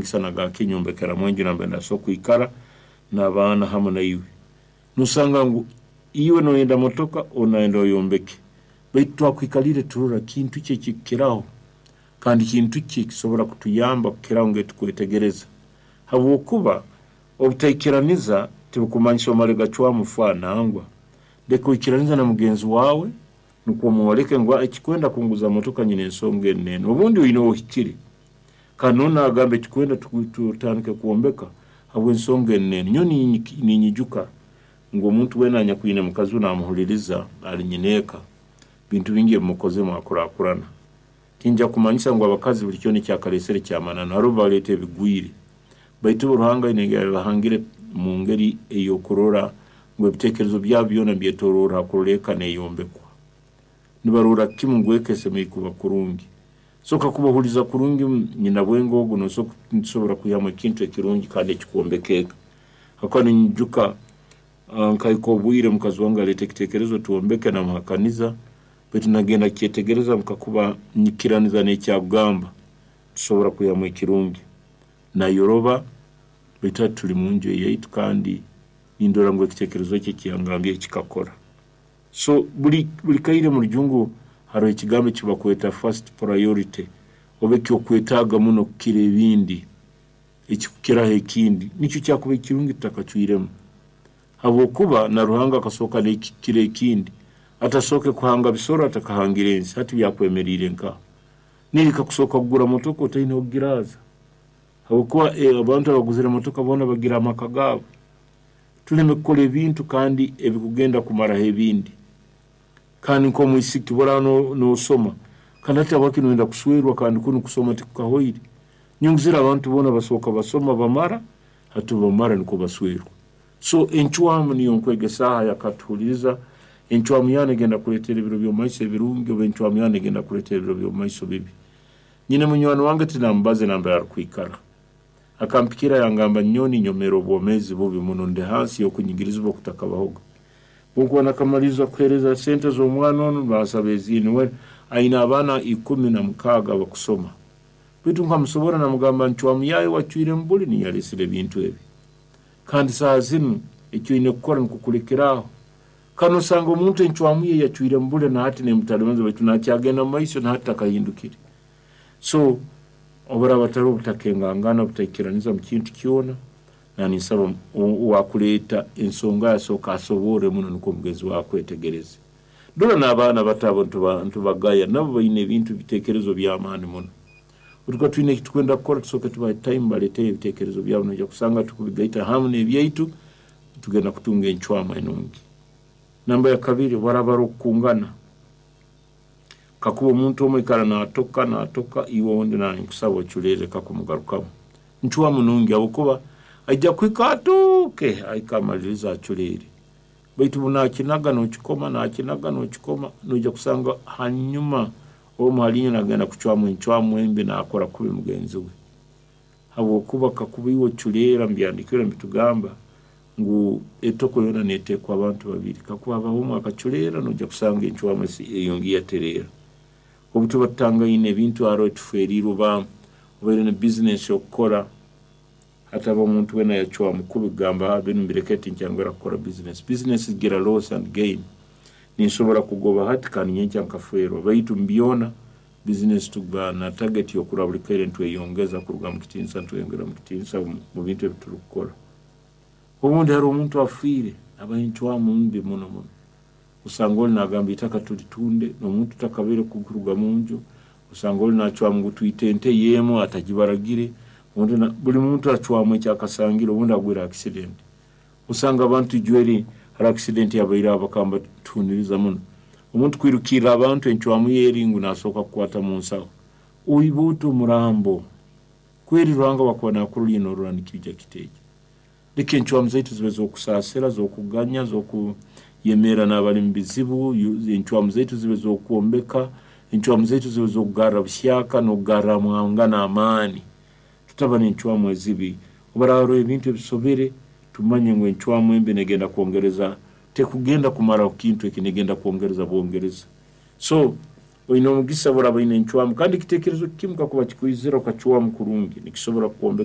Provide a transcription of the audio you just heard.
Nagamba nyombekeramu enju nambere ndasobora kwikara n'abaana hamu naiwe. Nosanga ngu iwe noyenda motoka, onu nayenda oyombeke, baitu twakwikalire turora kintu ki ekikukiraho kandi kintu ki ekisobora kutuyamba kukiraho ngu tukwetegereza, habwokuba obutaikiraniza tibukumanyisa omale gacwamu fa nangwa. Leka oikiranize na mugenzi waawe nukwo omwoleke ngu ekikwenda kunguza motoka nyina ensonga enu n'enu, obundi oine ohikire, kandi n'onu nagamba ekikwenda tutandike kwombeka habw'ensonga enu n'enu. Nyowe ninyijuka ngu omuntu weena anyakwine mukazi we namuhuliriza ali nyineeka, bintu bingi ebimukozere mwakurakurana. Tinjya kumanyisa ngu abakazi buli kyona ekyakaleesere kyamananu, haroho baleeta ebigwire, baitu bo Ruhanga aine engeri yabahangire mu ngeri ey'okurora ngu ebiteekerezo byabo byona nibyetoroora ha kurora eka neeyombekwa. Nibaroora kimu ngu eka esemeriire kuba kurungi. So kakuba ohuliiriza kurungi nyinabwenge ogu, nitusobora kwihamu ekintu ekirungi kandi ekikwombeka eka. Habwokuba ninyijuka nkahika obwire mukazi wange aleeta ekiteekerezo twombeke namuhakaniza, baitu nagenda kukyetegereza ngu kakuba nyikiraniza n'ekyakugamba tusobora kwihamu ekirungi. Nayoroba, baitu hati tuli munju eyaitu kandi nindora ngu ekiteekerezo kye eki yangambire kikakora. So buli kaire mu Rujungu haroho ekigambo eki bakweta first priority, oba ekyokwetaaga muno kukira ebindi, ekikukiraho ekindi, nikyo kyakubaire kirungi tutakacwiremu, habwokuba na Ruhanga akasooka n'ekikira ekindi, atasooke kuhanga bisoro atakahangire ensi, hati byakwemeriire nkaha? Niiwe kakusooka kugura motoka otaine h'okugiraaza, habwokuba abantu abaguzire motoka boona bagira amaka gaabo. Tuleme kukora ebintu kandi ebikugenda kumaraho ebindi. Kandi nk'omwisiki obu oraaba noosoma, kandi hati habwaki noyenda kuswerwa kandi kunu kusoma tikukahoire? Nyongezere abantu boona basooka basoma bamara, hati obu bamara nukwo baswerwa. So encwamu niyo nkwegesaaho ayakatuhuliriza, encwamu yaawe negenda kukuleetera ebiro by'omumaiso ebirungi oba encwamu yaawe negenda kukuleetera ebiro by'omumaiso bibi. Nyine munywani wange tinamubaze nambere arukwikara, akampikira yangamba, nyowe ninyomeera obwomeezi bubi muno, ndi hansi y'okunyigirizibwa okutakabahoga. Obu nkuba nakamaliriza kuheereza sente z'omwana onu, bansaba ezindi, we aine abaana 16 abakusoma. Baitu nkamusobora namugamba ncwamu yaawe wacwiremu buli niyo yaleesere ebintu ebi. Kandi saaha zinu eki oine kukora nukwo kulekeraaho. Kandi nosanga omuntu encwamu ye yacwiremu buli na hati neemutalibaniza baitu nakyagenda mu maiso na hati takahindukire. So obu haraaba hataloho obutakengangana, obutaikiraniza mu kintu kyona, naninsaba owaakuleeta ensonga ye asooke asoborre muno nukwo mugenzi waawe akwetegereze. Dora n'abaana bato abo ntubagaya, nabo baine ebintu ebiteekerezo by'amaani muno. Obu tukuba twine eki tukwenda kukora, tusooke tubahe time baleeteyo ebiteekerezo byabo, noija kusanga tukubigaita hamu n'ebyaitu, tugenda kutunga encwamu enungi. Namba ya kabiri, obu haraaba haroho okukungana, kakuba omuntu omu aikara naatoka naatoka, iwe ondi ninkusaba oculeere leka kumugarukamu. Ncwamu nungi habwokuba aija kuhika atooke ahike amalirize aculeere. Baitu obu naakinaga nookikoma, naakinaga nookikoma, noija kusanga hanyuma omu hali inywe naagenda kucwamu encwamu embi naakora kubi mugenzi we. Habwokuba kakuba iwe oculeera mubyahandiikirwe nibitugamba ngu etoko yoona neeteekwa abantu babiri. Kakuba habaho omu akaculeera, noija kusanga encwamu eyongiire yatereera. Obu tuba tutangaine ebintu haroho tuferiirwe oba obaire na bizinesi okukora, hataba omuntu weena yacwamu kubi kugamba binu mbireke tinkyangwera kukora bizinesi. Bizinesi zigira loss and gain. Ninsobora kugoba hati kandi nyenkya nkafeerwa, baitu mu byona bizinesi tuba na target y'okurora buli kaire nitweyongeza kuruga mu kitiinisa nitweyongera mu kitiinisa mu bintu ebi turukukora. Obundi haroho omuntu afiire, abaho encwamu mbi muno muno. Osanga oli naagamba itaka tulitunde, n'omuntu takabaire kuruga munju, osanga oli naacwamu ngu twite ente ye emu atagibaragire, buli muntu acwamu eki akasangire, obundi agwire accident. Osanga abantu ijweri haroho accident yabaireho bakaba nibatuhuniriza muno. Omuntu kwirukirra abantu encwamu ye eri ngu naasooka kukwata mu nsaho. Oiba ota omurambo? Kweri Ruhanga obu akuba naakurora iwe noorora nikiija kita eki? Leka encwamu zaitu zibe z'okusaasira, z'okuganya, z'okuyemerra n'abali mu bizibu, encwamu zaitu zibe z'okwombeka, encwamu zaitu zibe z'okugarra buhyaka n'okugarramwangana amaani. Tutaba n'encwamu ezibi. Obu haraaba haroho ebintu ebisobere, tumanye ngu encwamu embi negenda kwongereza, tekugenda kumaraho kintu eki, negenda kwongereza bwongereza. So oine omugisa obu oraaba oine encwamu kandi ekiteekerezo kimu kakuba kikwizira okacwamu kurungi, nikisobora kukwombeka.